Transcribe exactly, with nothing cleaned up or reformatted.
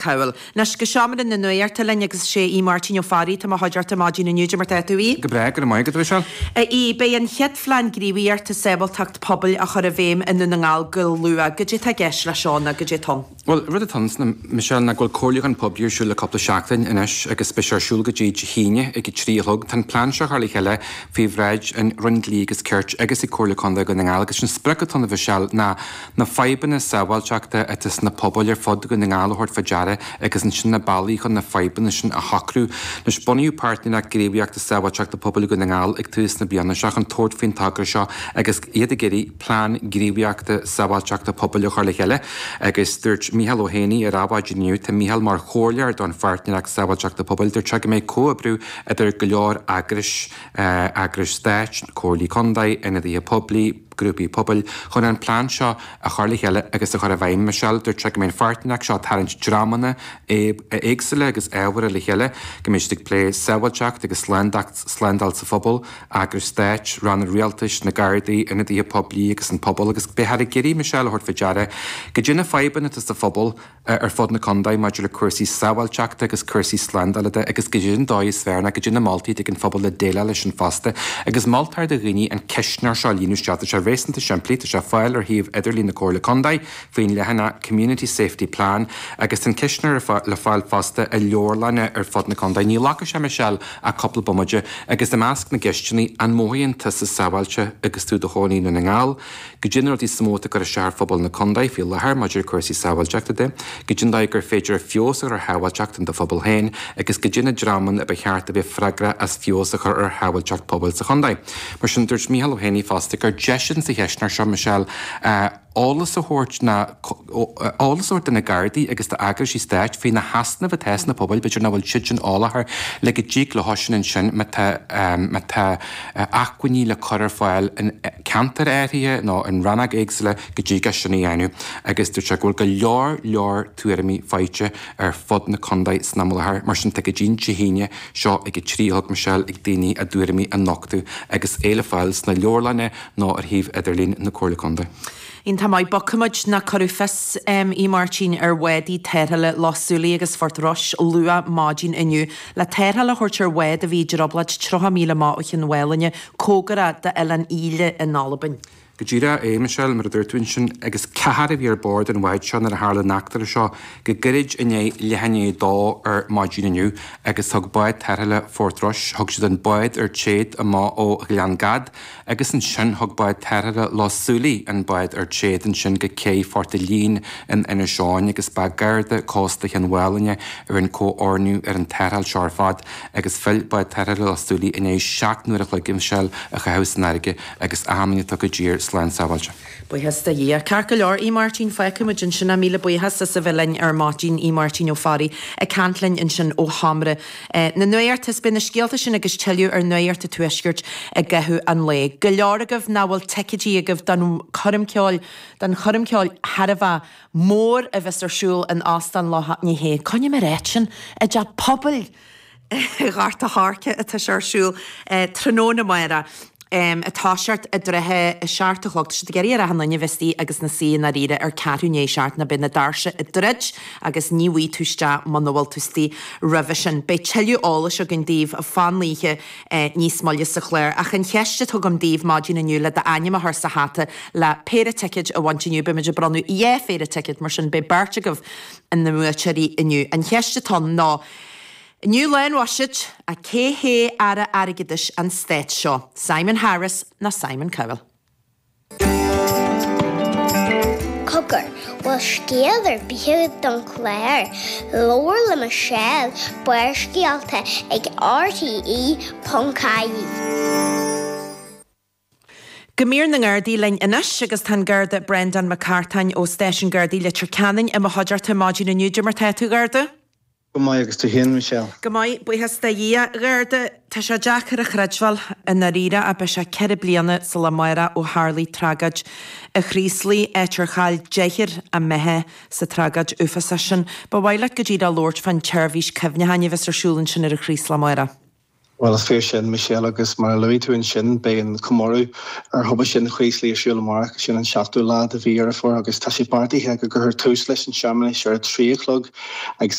Cowell. Anois go seomra na nuachta linn agus sé Aodh Máirtín Ó Fearraigh atá i mo chuideachta maidin inniu, Cad é mar tá tú, a Aoidh? Go breá, go raibh maith agat, a Mhichelle. A Aoidh, beidh an chéad phlean gníomhaíochta sábháilteacht pobail á chur i bhfeidhm i nDún na nGall go luath. Goidé tá i gceist leis seo nó goidé atá ann? Bhuel, rud atá ann, Michelle, ná go bhfuil comhairliúchán poiblí ar siúl le cúpla seachtain anois agus beidh sé ar siúl go dtí Dé hAoine ag a trí a chlog. Tá an plean seo á chur le chéile faoi bhráid an Roinn Dlí agus Cirt agus ag Comhairle Contae Dhún na nGall agus an sprioc atá ann, a Mhichelle, ná na fadhbanna sábháilteachta atá sna pobail ar fud Dhún na nGall a thabhairt faoi deara agus ansin na bealaí chun na fadhbanna sin a shocrú. Anois, bunaíodh Páirtnéireacht Gníomhaíochta Sábháilteachta Pobail Dhún na nGall ag tús na bliana seo chun tabhairt faoin togra seo agus iad ag iarraidh plean gníomhaíochta sábháilteachta pobail a chur le chéile agus dúirt Mícheál Ó hÉanaí ar Adhmhaidin inniu, tá Mícheál mar chomhairleoir don Pháirtnéireacht Sábháilteachta Pobail, dúirt sé go mbeidh comhoibriú idir go leor eagrais, eagrais stáit, comhairlí contae, ionadaithe poiblí, grúpaí pobail, chun an plean seo a chur le chéile agus a chur i bhfeidhm. Michelle, Dúirt sé go mbeidh an pháirtnéireacht seo ag tarraingt dreamanna éagsúla agus ábhartha le chéile, go mbeidh siad ag plé sábháilteacht agus slándáil sa phobal, eagrais stáit, ranna rialtais, na Gardaí, ionadaithe poiblí agus an pobal agus beifear ag iarraidh, Michelle, a thabhairt faoi deara goidé na fadhbanna atá sa phobal ar fud na contae maidir le cúrsaí sábháilteachta agus cúrsaí slándála de agus goidé an dóigh is fearr nó goidé na moltaí atá ag an phobal le déileáil leis sin fosta. Agus moltar do dhaoine an ceistneoir seo a líonadh isteach. Tá sé réasúnta simplí, tá sé ar fáil ar shuíomh idirlín na Comhairle Contae faoin leathanach Community Safety Plan agus tá an ceistneoir le fáil fosta i leabharlanna ar fud na contae. Ní ghlacfaidh sé, Michelle, ach cúpla bomaite agus i measc na gceisteanna, an mothaíonn tusa sábháilte agus tú i do chónaí i nDún na nGall? Goidé na rudaí is mó atá ag cur isteach ar phobal na contae faoi láthair maidir le cúrsaí sábháilteachta de. Goidé an dóigh gur féidir feabhas a chur ar shábháilteacht in do phobal féin agus goidé na dreamanna a ba cheart a bheith freagrach as feabhas a chur ar shábháilteacht pobail sa chontae. Mar sin, dúirt Mícheál Ó hÉanaí fosta gur deis sa cheistneoir seo, Michelle, eolas a thabhairt ná eolas a thabhairt do na Gardaí agus d'eagraisí stáit faoi na heasnaimh atá sna pobail, b'fhéidir nach bhfuil siad sin eolach air, le go dtig leo sin ansin má tá má tá acmhainní le cur ar fáil in ceantair áirithe nó in rannóga éagsúla go dtig é sin a dhéanamh agus dúirt sé go bhfuil go leor leor tuairimí faighte ar fud na contae san am i láthair. Mar sin tá go dtí an Dé hAoine seo ag a trí a chlog, Michelle, ag daoine a dtuairimí a nochtadh agus é le fáil sna leabharlanna nó ar shuíomh idirlín na Comhairle Contae. Iontach maith. Bogfaimid nó cuireadh fios, a Mháirtín, ar bhádaí tarrthála Loch Súilí agus Phort Rois luath maidin inniu le tarrtháil a thabhairt ar bhád a bhí i dtrioblóid tríocha míle amach ó Chionn Mhálanna, cóngarach d'Oileán Íle in Albain. Go díreach é, Michelle, mar a dúirt tú ansin, agus ceathrar a bhí ar bord an bháid seo nuair a tharla an eachtra seo go gairid i ndiaidh leath i ndiaidh a dó ar maidin inniu agus thug bád tarrthála Phort Rois, thug siad an bád ar téad amach ó Ghleann Gad agus ansin thug bád tarrthála Loch Súilí an bád ar téad ansin go cé Phort a' Lín in Inis Eoghain agus ba Garda Cósta Chionn Mhálanna a rinne comhordnú ar an tarrtháil seo ar fad agus phill bád tarrthála Loch Súilí i ndiaidh seacht n-uair a chloig, a Mhichelle, a chaitheamh san fharraige agus achan duine atá i dtír slán sábháilte. Buíochas do Dhia. Ceart go leor, a Mháirtín, fágfaidh muid ansin é. Míle buíochas as a bheith linn ar maidin, a Mháirtín Ó Fearraigh ag caint linn ansin ó sheomra na nuachta. Is beidh na scéalta sin agus tuilleadh ar Nuacht an Tuaiscirt i gcaitheamh an lae. Go leor agaibh nach bhfuil ticéidí agaibh don choirm ceoil, don choirm ceoil thar a bheith mór a bheas ar siúl in Óstán Loch, ní hé, coinneoidh mé ar áit sin, i dTeach Pobail Ghort a' Choirce atá sé ar siúl tráthnóna amárach. Ag toiseacht i dtrátha a seacht a chlog. Tá siad ag iarraidh ar achan duine a bheith istigh agus ina suí i ndáiríre ar ceathrú i ndiaidh a seacht nó beidh na doirse ag druid agus ní bhfaighidh tú isteach muna bhfuil tú istigh roimhe sin. Beidh tuilleadh eolais againn daoibh fán oíche níos moille sa chlár. Ach an cheist atá agam daoibh maidin inniu le d'ainm a chur sa hata le péire ticéid a bhaint inniu, beimid ag bronnadh dhá phéire ticéad mar sin beidh beirt agaibh ina mbuaiteoirí inniu. An cheist atá ann ná. Inniu Lá an Bhuiséid, ach cé hé Aire Airgeadais an stáit seo? Simon Harris nó Simon Cowell? Cogar, bhfuil scéal ar bith agat don chlár? Labhair le Michelle, Barrscéalta ag RTE ponc ie. Go mír na nGardaí linn anois agus tá an Garda Breandán Mac Cartáin ó Stáisiún Gardaí Leitir Ceanainn i mo chuideachta maidin inniu. Cad é mar tá tú, a Gharda? Go maith agus tú féin, Michelle? Go maith, buíochas do Dhia. A Gharda, tá sé deacair a chreidbheáil i ndáiríre ach beidh sé ceithre bliana sa lá amárach ó tharlaigh tragóid an Chraoslaigh, áit ar chaill deichniúr a mbeatha sa tragóid uafásach sin. Ba mhaith leat go díreach labhairt fán tseirbhís cuimhneacháin a bheas ar siúl ansin ar an Chraoslach amárach. Well is fíor sin Michelle agus mar a luaigh tú ansin beidh an comóradh ar thubaiste an Chraoslaigh ar siúl amárach sin an seachtú lá de mhí Dheireadh Fómhair agus tá sé beartaithe go gcuirfear tús leis an searmanas ar a trí a chlog ag